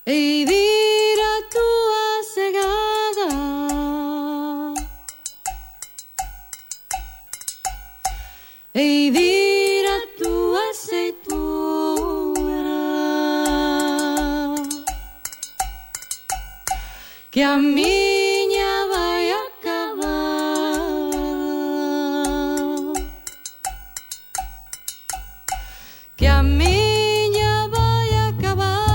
e dir a túa segada, e dir a túa aceitura, que a miña vai acabar, que a miña vai acabada.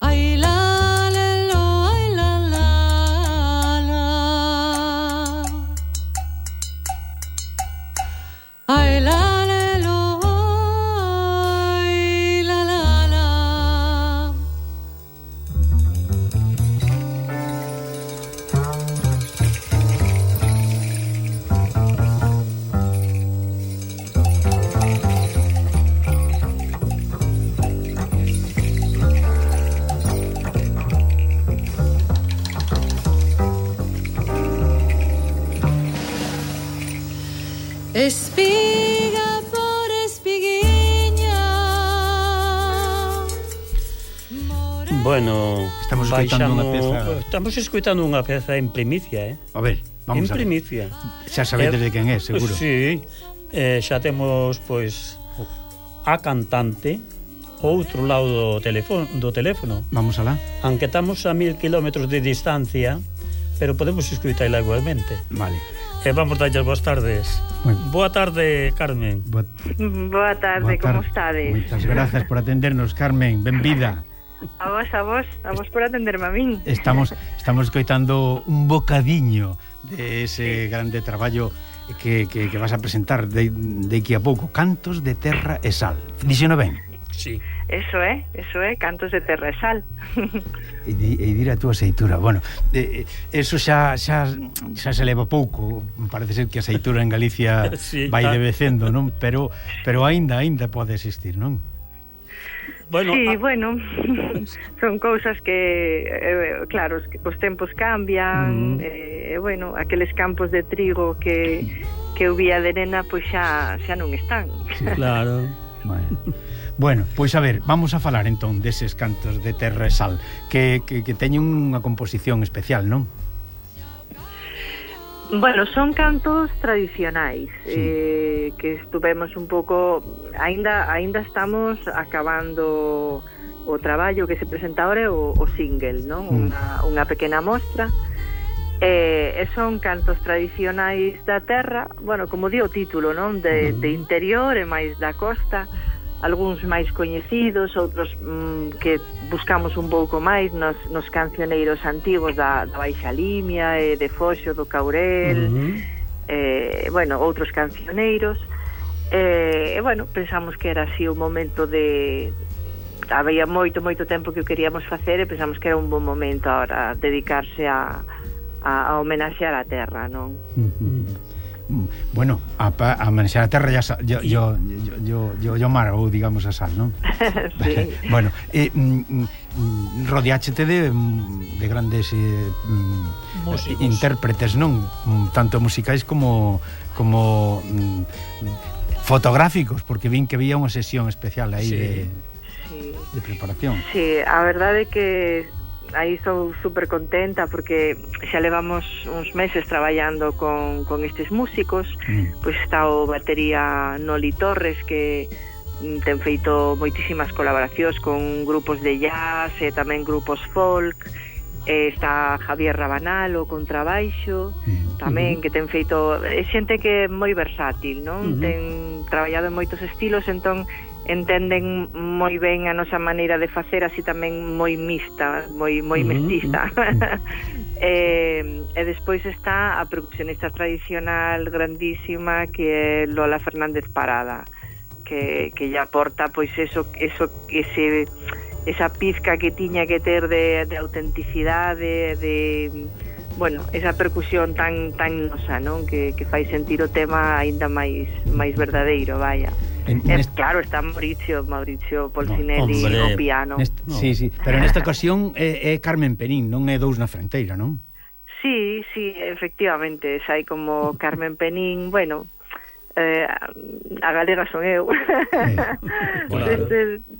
Ai la le lo, ai la la la, ai la le lo, ai la la la. Espiga por espiguiña. Bueno, Estamos escoitando unha peza. Estamos escoitando unha peza en primicia, A ver, vamos en a ver. primicia. Xa sabedes de quen é, seguro. Sí, xa temos, pois, a cantante outro lado do teléfono. Vamos alá. Aunque estamos a 1000 kilómetros de distancia, pero podemos escoitala igualmente. Vale. Vamos darlle boas tardes. Bueno. Boa tarde, Carmen. Boa tarde, como estades? Moitas grazas por atendernos, Carmen. Benvida. A vos por atenderme a min. Estamos escoitando un bocadiño de ese grande traballo que vas a presentar de aquí a pouco, Cantos de Terra e Sal. Dixeno ben? Sí. Eso é, Cantos de Terra e Sal. E dir a túa aceitura. Bueno, eso xa se leva pouco. Parece ser que a aceitura en Galicia Sí, vai está. devecendo, non? Pero aínda pode existir, non? Bueno, Sí, bueno, son cousas que, claro, os tempos cambian, bueno, aqueles campos de trigo que eu vía de nena, pois xa non están. claro. Bueno, pois a ver, vamos a falar entón deses Cantos de Terra e Sal que teñen unha composición especial, non? Bueno, son cantos tradicionais, Sí. que estuvemos un pouco, aínda estamos acabando o traballo que se presenta ahora, o single, non? Unha pequena mostra, e son cantos tradicionais da terra, bueno, como di o título, non? De interior e máis da costa, algúns máis coñecidos, outros que buscamos un pouco máis nos cancioneiros antigos da Baixa Limia e de Foxo, do Caurel, bueno, outros cancioneiros, e bueno, pensamos que era así o momento de... Había moito tempo que o queríamos facer e pensamos que era un bon momento ahora dedicarse a homenaxear a terra, non? Bueno, a homenaxear a terra yo margo, digamos, a sal, non? Sí. Bueno, rodeáchete de grandes intérpretes, non? Tanto musicais como fotográficos, porque vin que había unha sesión especial aí de preparación. Sí, a verdade é que aí estou super contenta porque xa levamos uns meses traballando con estes músicos. Pois está o batería Noli Torres, que ten feito moitísimas colaboracións con grupos de jazz e tamén grupos folk. Está Javier Rabanal, o contrabaixo, tamén, que ten feito... É xente que é moi versátil, non? Ten traballado en moitos estilos, entón entenden moi ben a nosa maneira de facer, así tamén moi mixta, moi mestiza. E despois está a percusionista tradicional grandísima, que é Lola Fernández Parada, que lle aporta pois esa pizca que tiña que ter de autenticidade, de bueno, esa percusión tan nosa, non? Que fai sentir o tema aínda máis verdadeiro, vaya. Claro, está Mauricio Polsinelli no piano. Sí, pero nesta ocasión é Carmen Penín, non é Dous na Fronteira, non? Sí, efectivamente, sai como Carmen Penín, bueno, a galega son eu. Claro.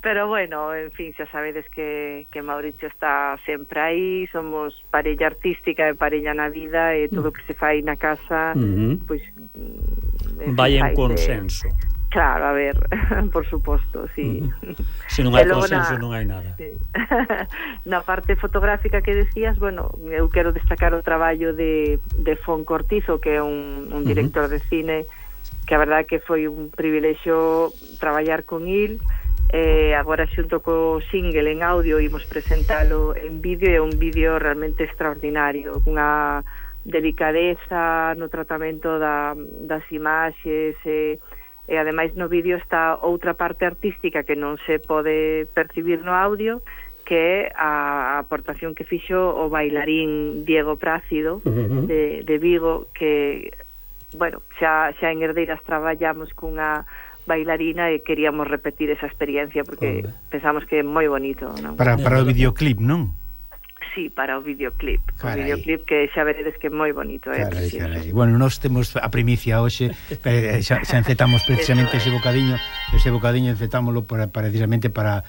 Pero bueno, en fin, xa sabedes que Mauricio está sempre aí, somos parella artística e parella na vida, e todo o que se fai na casa pois vai en consenso. Claro, a ver, por suposto, sí. Se non hai consenso non hai nada. Sí. Na parte fotográfica que decías, bueno, eu quero destacar o traballo de Fon Cortizo, que é un director de cine, que a verdade que foi un privilexio traballar con il. Agora xunto co single en audio imos presentalo en vídeo, e un vídeo realmente extraordinario, unha delicadeza no tratamento das imaxes, e ademais no vídeo está outra parte artística que non se pode percibir no audio, que é a aportación que fixo o bailarín Diego Prácido de Vigo, que, bueno, xa en Herdeiras traballamos cunha bailarina e queríamos repetir esa experiencia porque pensamos que é moi bonito, non? Para o videoclip, non? Sí, para o videoclip. Carai. O videoclip que xa veredes que é moi bonito, Carai. Bueno, nós temos a primicia hoxe, xa encetamos precisamente ese bocadiño encetámolo precisamente para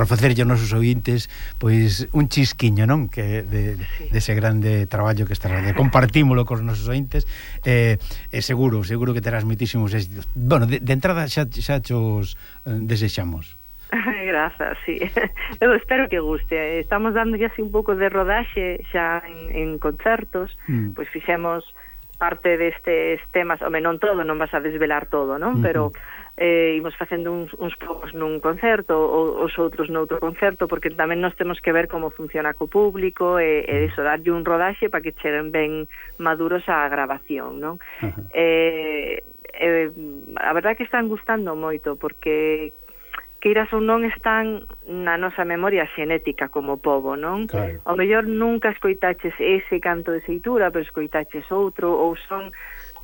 facerlle aos nosos ointes pois un chisquiño, non? Que dese grande traballo que estás de compartímolo cos nosos ointes, seguro que terás moitísimos éxitos. Bueno, de entrada xa chos desexamos. Grazas, sí. Eu espero que guste. Estamos dando así un pouco de rodaxe xa en concertos, pois fixemos parte destes temas, non todo, non vas a desvelar todo, non? Pero imos facendo uns poucos nun concerto, os outros noutro concerto, porque tamén nos temos que ver como funciona co público e iso, darlle un rodaxe para que cheguen ben maduros á grabación, non? A verdade que están gustando moito, porque queiras ou non están na nosa memoria xenética como pobo, non? Claro. Ao mellor nunca escoitaches ese canto de seitura, pero escoitaches outro, ou son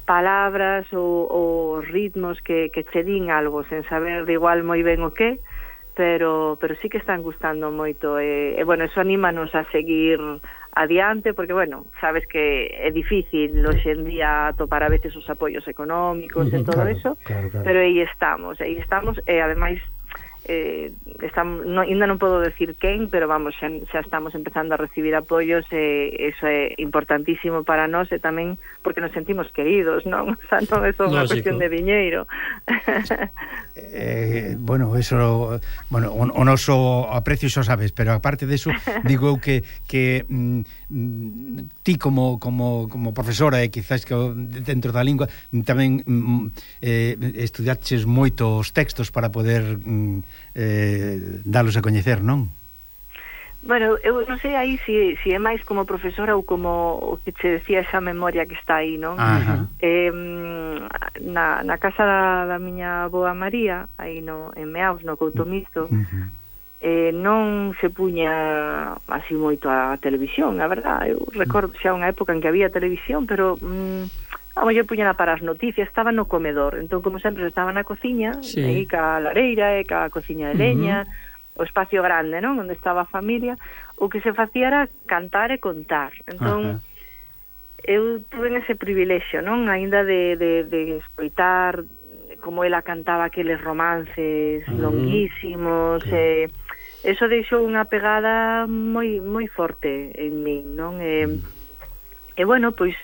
palabras ou ritmos que che din algo sen saber de igual moi ben o que, pero sí que están gustando moito, e bueno, eso anímanos a seguir adiante, porque bueno, sabes que é difícil hoxe en día topar a veces os apoios económicos e todo eso, pero aí estamos, e ademais ainda non podo decir quen, pero vamos, xa estamos empezando a recibir apoios, e eso é importantísimo para nós, e tamén porque nos sentimos queridos, non? O sea, non é só unha cuestión de diñeiro. Bueno, eso, o noso aprecio xo sabes, pero aparte deso, digo eu que ti como profesora, e quizás que dentro da lingua tamén estudiaches moitos textos para poder dalos a coñecer, non? Bueno, eu non sei aí se é máis como profesora ou como o que che decía esa memoria que está aí, non? Na casa da miña avoa María, aí en Meaus, no Couto Mixto, non se puña así moito a televisión, a verdad. Eu recordo xa unha época en que había televisión, pero a mellor puñana para as noticias, estaba no comedor, entón como sempre estaba na cociña, aí ca lareira e ca cociña de leña, o espacio grande, non? Onde estaba a familia, o que se facía era cantar e contar. Entón eu tuve ese privilexio, non? Aínda de escoitar como ela cantaba aqueles romances longuísimos, eso deixou unha pegada moi forte en min, non? E bueno, pois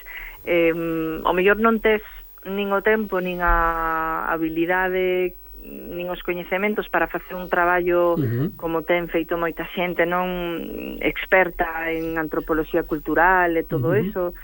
ao mellor non tes nin o tempo, nin a habilidade, nin os coñecementos para facer un traballo como ten feito moita xente, non experta en antropoloxía cultural e todo eso,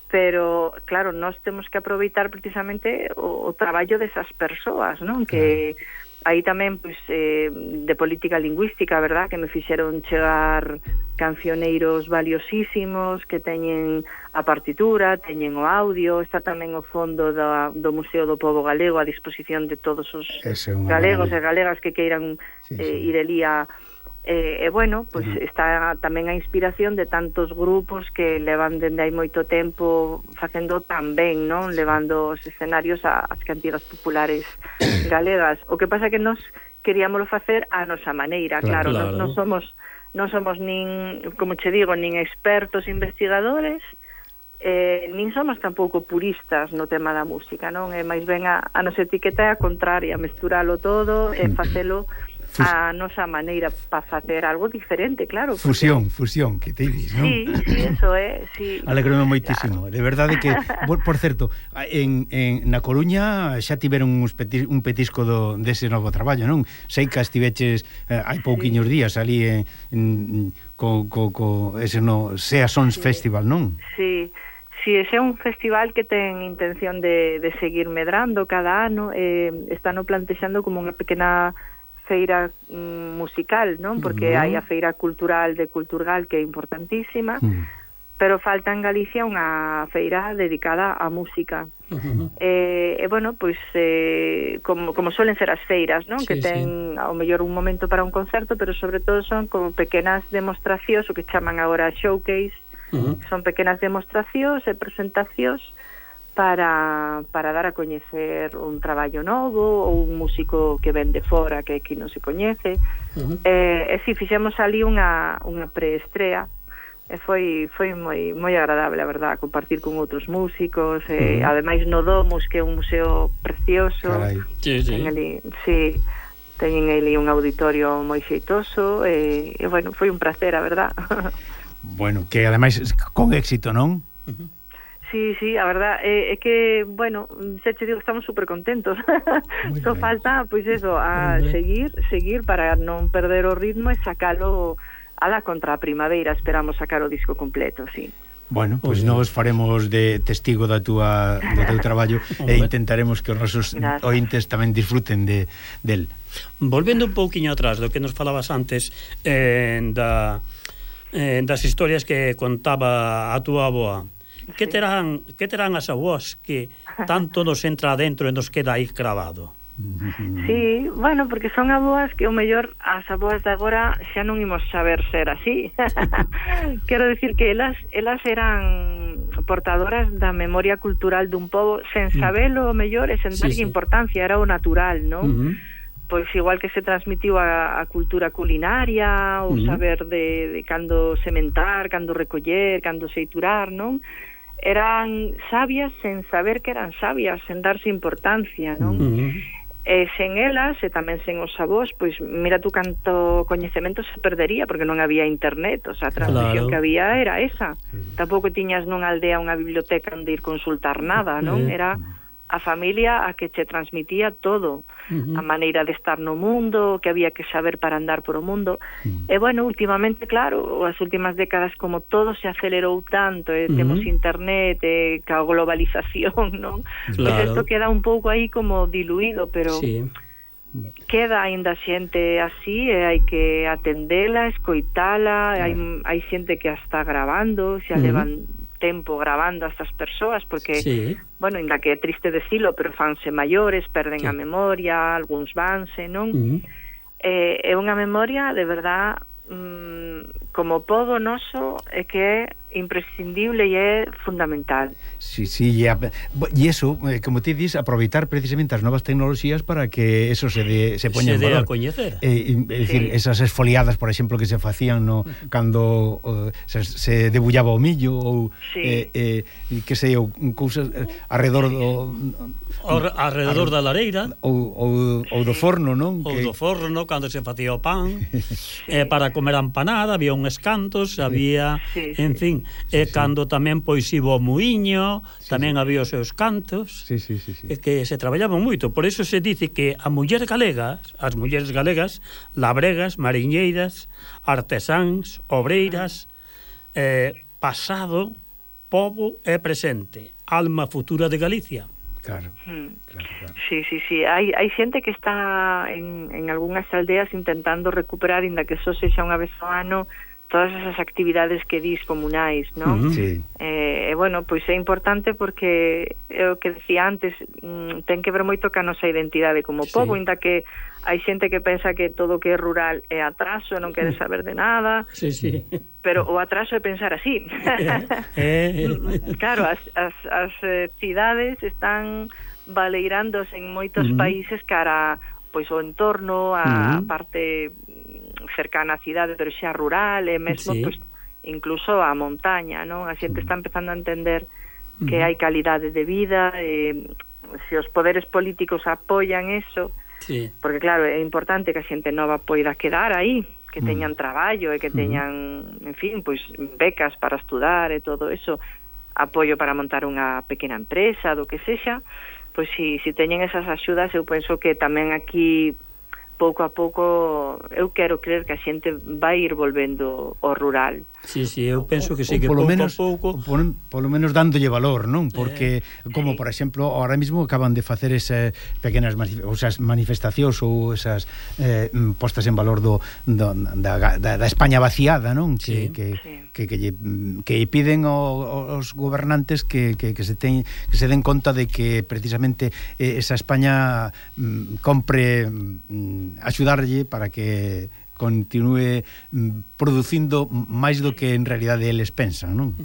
pero claro, nós temos que aproveitar precisamente o traballo desas persoas, non? Que aí tamén, pois, de política lingüística, verdad, que me fixeron chegar cancioneiros valiosísimos que teñen a partitura, teñen o audio, está tamén o fondo do Museo do Pobo Galego a disposición de todos os galegos e galegas que queiran ir elí bueno, pois está tamén a inspiración de tantos grupos que levan dende hai moito tempo facendo tan ben, non? Levando os escenarios ás cantigas populares galegas. O que pasa é que nós queríamoslo facer a nosa maneira, claro. Non somos nin, como che digo, nin expertos investigadores, nin somos tampouco puristas no tema da música, non? É máis ben a nosa etiqueta é a contraria, mesturálo todo e facelo a nosa maneira para facer algo diferente, claro. Fusión, que te dis, non? Sí, eso é, sí. Alegrome moitísimo, claro. De verdade que, por certo, na Coruña xa tiveron un petisco dese novo traballo, non? Sei que estiveches hai pouquiños días ali ese Sea Sons Festival, non? Sí. Si, ese é un festival que ten intención de seguir medrando cada ano, están plantexando como unha pequena feira musical, non? Porque hai a feira cultural de Culturgal, que é importantísima, pero falta en Galicia unha feira dedicada á música. Bueno, pois como suelen ser as feiras, non? Que ten ao mellor un momento para un concerto, pero sobre todo son como pequenas demostracións, o que chaman agora showcase. Son pequenas demostracións e presentacións para dar a coñecer un traballo novo ou un músico que ven de fora que aquí non se coñece. Si fixemos ali unha preestrea e foi moi agradable, a verdad, compartir con outros músicos, ademais no Domus, que é un museo precioso. Teñen ali un auditorio moi xeitoso e bueno, foi un placer, a verdad. Bueno, que ademais con éxito, non? Sí, a verdad é que, bueno, xa te digo, estamos super contentos. Só falta, pois eso, a seguir para non perder o ritmo e sacalo a la contra a primavera. Esperamos sacar o disco completo, sí. Bueno, pois nós faremos de testigo do teu traballo e intentaremos que os nosos ointes tamén disfruten del. Volvendo un pouquiño atrás do que nos falabas antes das historias que contaba a túa avoa, que terán as avoas que tanto nos entra adentro e nos queda aí cravado? Sí, bueno, porque son avoas que o mellor as avoas de agora xa non imos saber ser así. Quero dicir que elas eran portadoras da memoria cultural dun pobo sen sabelo o mellor e sen darlle importancia, era o natural, non? Pois igual que se transmitiu a cultura culinaria, o saber de cando sementar, cando recoller, cando seiturar, non? Eran sabias sen saber que eran sabias, sen darse importancia, non? E sen elas, e tamén sen os avós, pois mira tú canto coñecemento se perdería, porque non había internet, o sea, a transmisión que había era esa. Tampouco tiñas nunha aldea unha biblioteca onde ir consultar nada, non? Era a familia a que che transmitía todo, a maneira de estar no mundo, que había que saber para andar por o mundo. E bueno, últimamente, claro, as últimas décadas, como todo se acelerou tanto, temos internet, ca globalización, non? Pois isto queda un pouco aí como diluído, pero queda aínda xente así, e hai que atendela, escoitala, hai xente que a está grabando, xa levan tempo grabando a estas persoas, porque, bueno, ainda que é triste decilo, pero fanse maiores, perden a memoria, algúns vanse, non? É unha memoria, de verdad, como pobo noso, é que é imprescindible e é fundamental. Sí, e eso, como ti dis, aproveitar precisamente as novas tecnoloxías para que eso se poña en valor. Se dé a coñecer. É dicir, esas esfoliadas, por exemplo, que se facían cando se debullaba o millo ou que sei, cousas arredor da lareira ou do forno, non? Ou do forno, cando se facía o pan, para comer a empanada, había uns cantos, había, en fin, e cando tamén pois iba o muiño, tamén había os seus cantos, que se traballaban moito. Por iso se dice que as mulleres galegas, labregas, mariñeiras, artesáns, obreiras, pasado, pobo e presente, alma futura de Galicia. Claro. Sí. Hai xente que está en algunhas aldeas intentando recuperar, inda que só sexa unha vez ao ano, todas esas actividades que dis comunais, non? Bueno, pois é importante porque é o que decía antes, ten que ver moito ca nosa identidade como pobo, inda que hai xente que pensa que todo o que é rural é atraso, non quere saber de nada, pero o atraso é pensar así. Claro, as cidades están baleirándose en moitos países cara pois o entorno, a parte cercana á cidade, pero xa rural, e mesmo pois incluso a montaña, non? A xente está empezando a entender que hai calidade de vida, se os poderes políticos apoian eso, porque claro, é importante que a xente nova poida quedar aí, que teñan traballo e que teñan, en fin, pois becas para estudar e todo eso, apoio para montar unha pequena empresa, do que sexa, pois si teñen esas axudas, eu penso que tamén aquí pouco a pouco eu quero creer que a xente vai ir volvendo ao rural. Sí, eu penso que sí, que pouco a pouco polo menos dándolle valor, non? Porque como por exemplo, ahora mismo acaban de facer esas pequenas manifestacións ou esas postas en valor da España vaciada, non? Que piden aos gobernantes que se den conta de que precisamente esa España compre axudarlle para que continúe producindo máis do que en realidade eles pensan, non?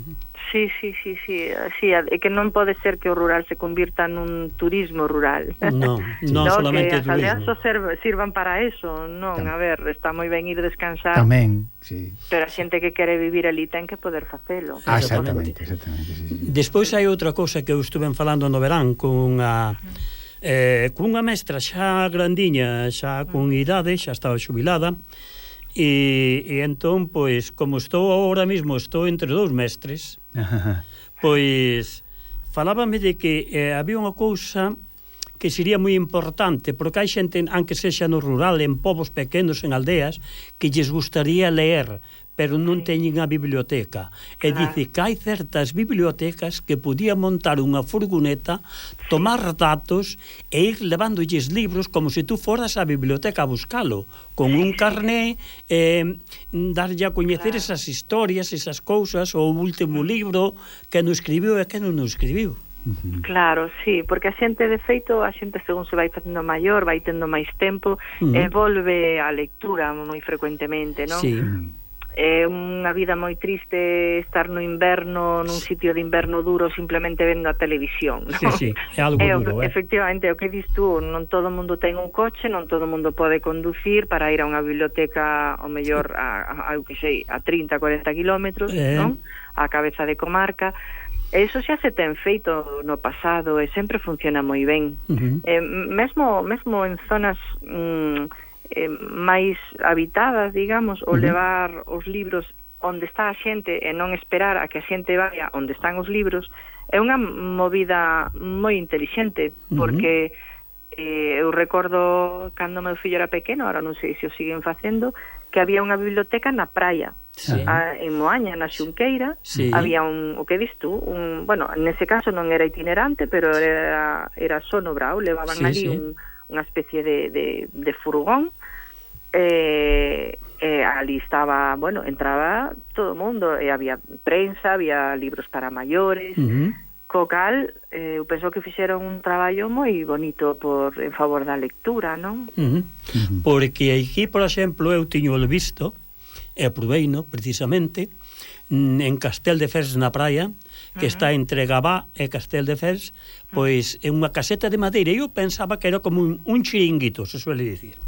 Sí, é que non pode ser que o rural se convirta nun turismo rural. Non solamente turismo. Que as aldeas só sirvan para eso, non, a ver, está moi ben ir descansar. Tamén, sí. Pero a xente que quere vivir ali ten que poder facelo. Exactamente. Sí. Despois hai outra cousa que eu estuve falando no verán cunha mestra xa grandiña, xa con idade, xa estaba xubilada, e entón, pois, como estou ahora mismo, estou entre dous mestres, pois, falábame de que había unha cousa que sería moi importante, porque hai xente, aunque sexa no rural, en povos pequenos, en aldeas, que lles gustaría leer, pero non teñen a biblioteca. E dice que hai certas bibliotecas que podían montar unha furgoneta, tomar datos e ir levándolles libros como se tú foras á biblioteca a buscalo, con un carné, darlle a coñecer esas historias, esas cousas, o último libro que non escribiu e que non escribiu. Claro, sí, porque a xente, de feito, a xente según se vai facendo maior, vai tendo máis tempo, e volve á lectura moi frecuentemente, non? Sí. É unha vida moi triste estar no inverno, nun sitio de inverno duro, simplemente vendo a televisión, non? Sí, é algo duro, efectivamente, o que dis tú, non todo o mundo ten un coche, non todo o mundo pode conducir para ir a unha biblioteca, ao mellor, a 30, 40 kilómetros, non? A cabeza de comarca. Eso xa se ten feito no pasado e sempre funciona moi ben. Mesmo en zonas máis habitadas, digamos, o levar os libros onde está a xente e non esperar a que a xente vaya onde están os libros é unha movida moi intelixente, porque eu recordo cando meu fillo era pequeno, ahora non sei se o siguen facendo, que había unha biblioteca na praia, en Moaña, na Xunqueira, había o que dis tú, bueno, nese caso non era itinerante, pero era só no Brao, levaban ali unha especie de furgón, ali estaba, bueno, entraba todo o mundo, e había prensa, había libros para maiores, co cal, eu penso que fixeron un traballo moi bonito en favor da lectura, non? Porque aquí, por exemplo, eu tiño o visto, e aproveino, precisamente, en Castel de Fers na praia, que está entre Gabá e Castel de Fers, pois é unha caseta de madeira, e eu pensaba que era como un chiringuito, se suele dicir.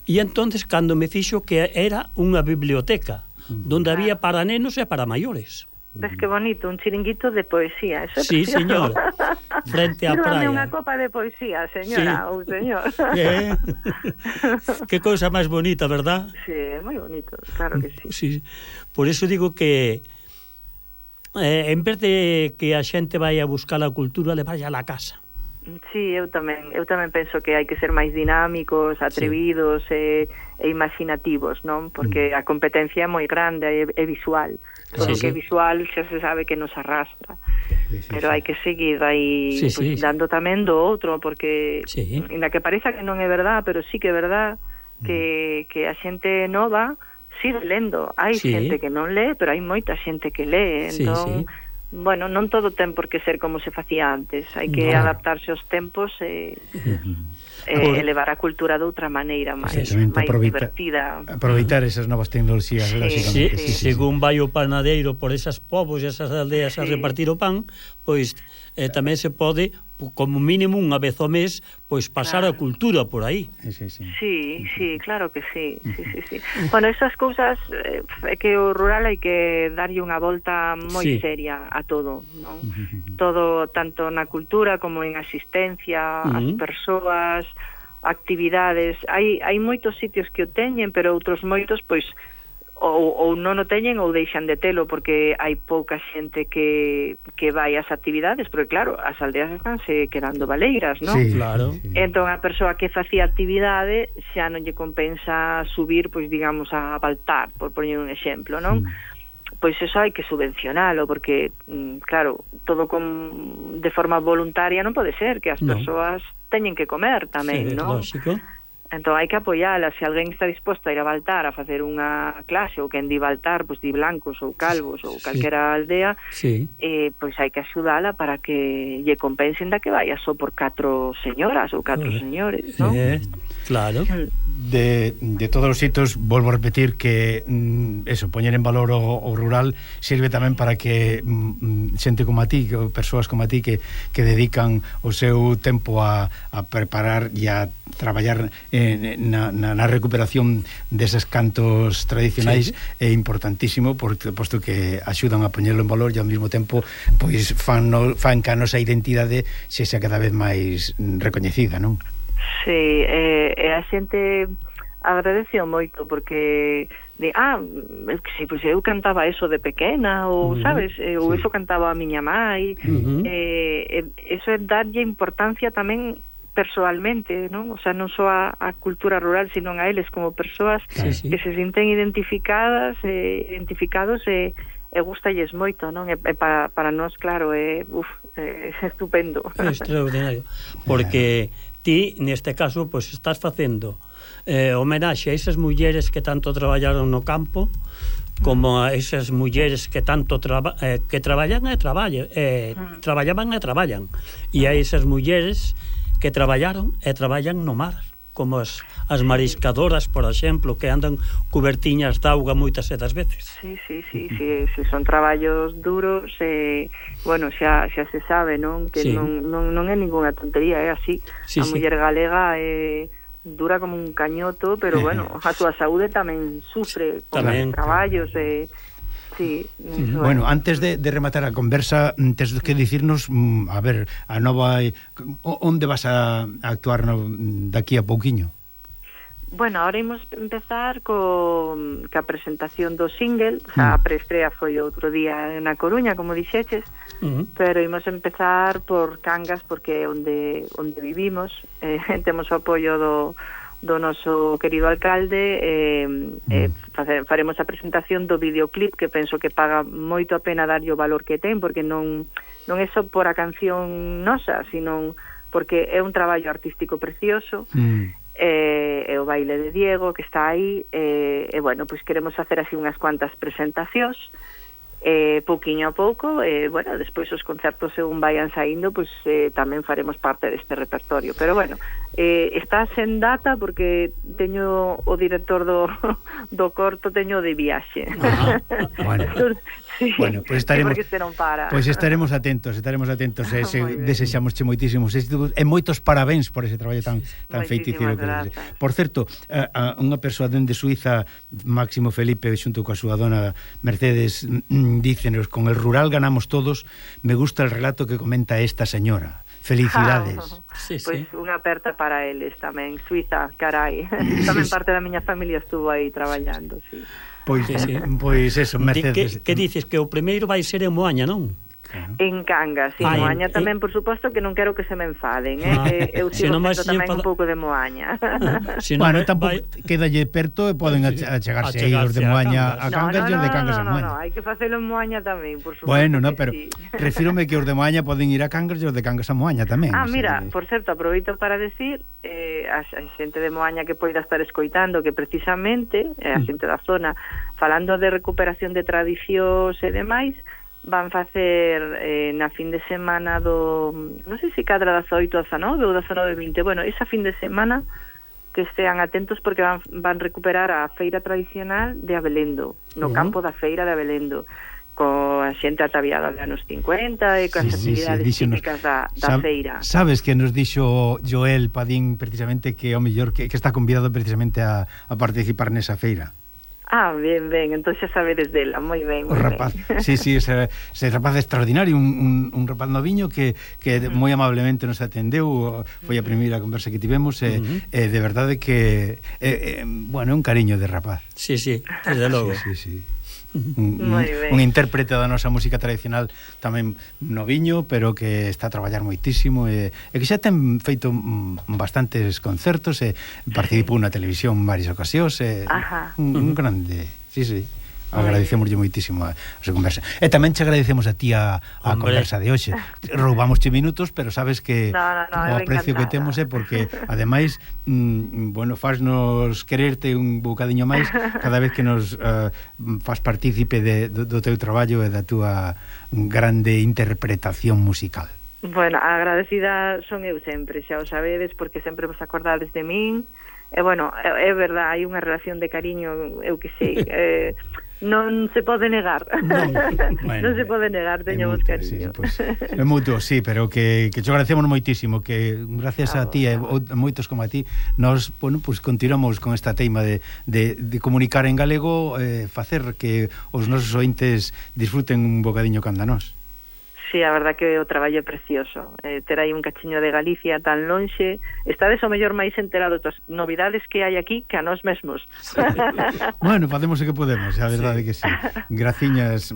E entonces, cando me fixo que era unha biblioteca, donde había para nenos e para maiores. Ves que bonito, un chiringuito de poesía, eso é precioso. Sí, señor, frente á praia. Sírvame unha copa de poesía, señora, ou señor. Que cousa máis bonita, verdad? Sí, é moi bonito, claro que sí. Sí. Por eso digo que en vez de que a xente vai a buscar a cultura, le vaya a la casa. Sí, eu tamén penso que hai que ser máis dinámicos, atrevidos e imaginativos, non? Porque a competencia é moi grande, é visual. Todo o que é visual xa se sabe que nos arrastra, pero hai que seguir aí dando tamén do outro, porque ainda que pareza que non é verdad, pero sí que é verdad que a xente nova sigue lendo. Hai xente que non lee, pero hai moita xente que lee, entón bueno, non todo ten por que ser como se facía antes, hai que adaptarse aos tempos e elevar a cultura de outra maneira máis divertida. Aproveitar esas novas tecnoloxías, lógicamente. Según vai o panadeiro por esas povos e esas aldeas a repartir o pan, pois tamén se pode como mínimo unha vez ao mes, pois pasar a cultura por aí. Sí, claro que sí. Bueno, esas cousas é que o rural hai que darlle unha volta moi seria a todo, non? Todo, tanto na cultura como en asistencia, as persoas, actividades. Hai moitos sitios que o teñen, pero outros moitos, pois, ou non o teñen ou deixan de telo porque hai pouca xente que vai ás actividades, porque claro, as aldeas estánse quedando baleiras, non? Sí, claro. Entón a persoa que facía actividade xa non lle compensa subir, pois digamos, a Baltar, por poñer un exemplo, non? Pois eso hai que subvencionalo, porque claro, todo de forma voluntaria non pode ser, que as persoas teñen que comer tamén, non? Lógico. Entón hai que apoiala. Se alguén está disposto a ir a Baltar a facer unha clase, ou quen di Baltar, pois di Blancos ou Calvos ou calquera aldea, pois hai que axudala para que lle compensen da que vaya só por 4 señoras ou 4 señores, non? Claro. De todos os hitos, volvo a repetir que eso, poñer en valor o rural sirve tamén para que xente como a ti, persoas como a ti que dedican o seu tempo a preparar e a traballar na recuperación deses cantos tradicionais é importantísimo, posto que axudan a poñerlo en valor e ao mesmo tempo pois fan que a nosa identidade sexa cada vez máis recoñecida, non? Sí, a xente agradeceu moito porque pois eu cantaba eso de pequena ou, sabes, ou eso cantaba a miña mai, eso é darlle importancia tamén persoalmente, non? O sea, non só a cultura rural, sino a eles como persoas que se sinten identificados e gustalles moito, non? E para nós, claro, é estupendo. É extraordinario, porque ti, neste caso, pois estás facendo homenaxe a esas mulleres que tanto traballaron no campo, como a esas mulleres que tanto que traballaban e traballan, e a esas mulleres que traballaron e traballan no mar, como as mariscadoras, por exemplo, que andan cubertiñas de auga moitas das veces. Sí, son traballos duros, bueno, xa se sabe, non? Que non é ninguna tontería, é así. A muller galega dura como un cañoto, pero bueno, a túa saúde tamén sufre con os traballos, Bueno, antes de rematar a conversa, tes que dicirnos, a ver, a nova, onde vas a actuar daqui a pouquiño? Bueno, ahora imos empezar ca presentación do single, a preestrea foi outro día na Coruña, como dixeches, pero imos empezar por Cangas, porque é onde vivimos, temos o apoio do noso querido alcalde, faremos a presentación do videoclip, que penso que paga moito a pena darlle o valor que ten, porque non é só por a canción nosa, sino porque é un traballo artístico precioso, e o baile de Diego que está aí, e bueno, pois queremos facer así unhas cuantas presentacións, pouquiño a pouco, bueno, despois os concertos según vayan saindo, pois tamén faremos parte deste repertorio, pero bueno, está sen data porque teño o director do corto, teño de viaxe. Bueno. Sí, bueno, pues estaremos atentos, desexamosche moitísimos éxitos e moitos parabéns por ese traballo tan feiticeiro que é. Por certo, unha persoa dende Suiza, Máximo Felipe, xunto coa súa dona Mercedes, dícenos: con el rural ganamos todos, me gusta el relato que comenta esta señora. Felicidades. Pois unha aperta para eles tamén. Suiza, carai. Tamén parte da miña familia estuvo aí traballando, sí. Pois eso, Mercedes. Que dices que o primeiro vai ser en Moaña, non? Claro. En Cangas, en Moaña tamén, por suposto, que non quero que se me enfaden, eu sigo sendo tamén un pouco de Moaña. Bueno, tampouco quedalle perto e poden achegarse aí os de Moaña a Cangas e os de Cangas a Moaña. No, hai que facelo en Moaña tamén, por suposto. Bueno, pero refírome que os de Moaña poden ir a Cangas e os de Cangas a Moaña tamén. Mira, por certo, aproveito para decir a xente de Moaña que poida estar escoitando que precisamente a xente da zona, falando de recuperación de tradicións e demais, van facer na fin de semana non sei se cadra 18 a 19 ou 19 a 20, bueno, esa fin de semana que estean atentos porque van recuperar a feira tradicional de Abelendo, no campo da feira de Abelendo, coa xente ataviada de anos 50 e coas actividades típicas da feira. Sabes que nos dixo Joel Padín precisamente que o mellor que está convidado precisamente a participar nesa feira. Ben, entón xa sabedes dela, moi ben. O rapaz, sí, ese rapaz extraordinario, un rapaz noviño que moi amablemente nos atendeu, foi a primeira conversa que tivemos, de verdade que bueno, un cariño de rapaz. Sí, desde logo. Sí. Un intérprete da nosa música tradicional tamén noviño, pero que está a traballar moitísimo e que xa ten feito bastantes concertos e participou na televisión en varias ocasións, un grande, sí. Agradecemoslle moitísimo a súa conversa. E tamén te agradecemos a ti a conversa de hoxe. Roubamosche minutos, pero sabes que o aprecio que temos é porque ademais, bueno, fasnos quererte un bocadiño máis cada vez que nos faz partícipe do teu traballo e da túa grande interpretación musical. Bueno, agradecida son eu sempre, xa o sabedes, porque sempre vos acordades de min. E bueno, é verdad, hai unha relación de cariño, eu que sei, non se pode negar. Non se pode negar, teñamos cariño. É mutuo, sí, pero que te agradecemos moitísimo, que gracias a ti e a moitos como a ti nos, bueno, pues continuamos con esta teima de comunicar en galego, facer que os nosos ointes disfruten un bocadiño canda nós. Sí, a verdad que o traballo é precioso. Ter aí un cachiño de Galicia tan lonxe, estades o mellor máis enterados das novidades que hai aquí que a nós mesmos. Bueno, facemos o que podemos, a verdade que sí. Graciñas,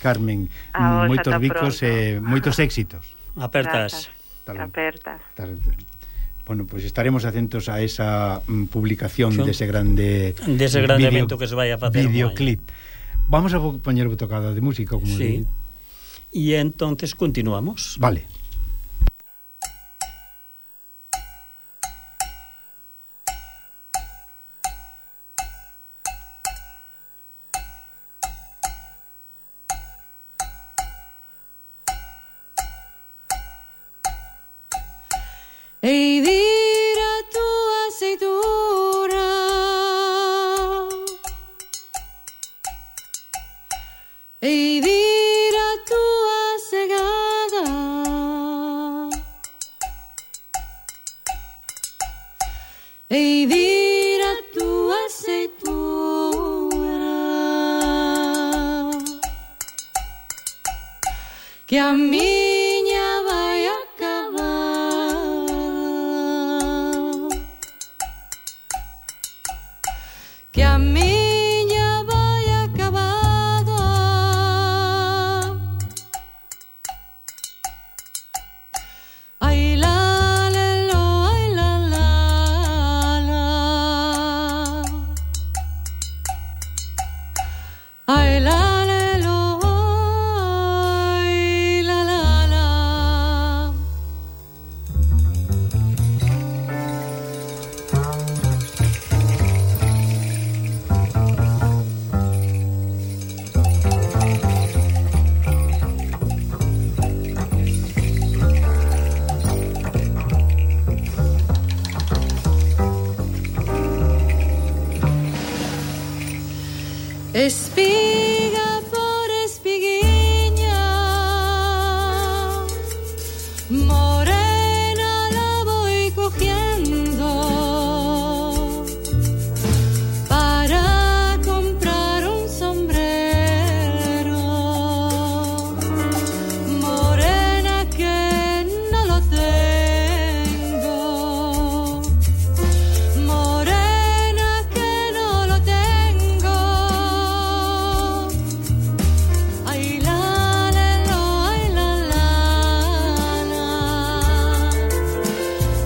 Carmen, moitos bicos e moitos éxitos. Apertas. Bueno, pois estaremos atentos a esa publicación dese grande evento que se vai a facer videoclip. Vamos a poñer botocada de música, como sí. E entonces continuamos. Vale. Ei, dira tu aceitura, ei, dira tua cegada, ei, dira tua aceitura, que a miña vai acabar, que a miña vai acabada. Ai la le lo, ai la la la, ai la le lo, ai la la la. Espiga por espiguiña, morena la voy cogiendo para comprar un sombrero, morena que no lo tengo, morena que no lo tengo. Ay la le lo, ay la la la,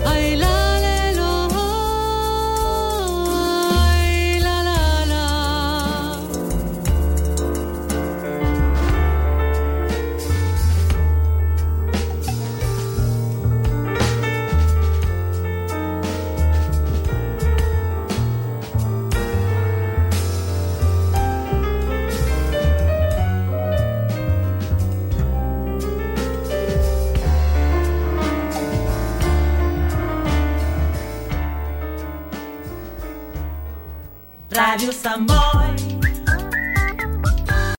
ay la le lo, ay la la la. Radio Samboy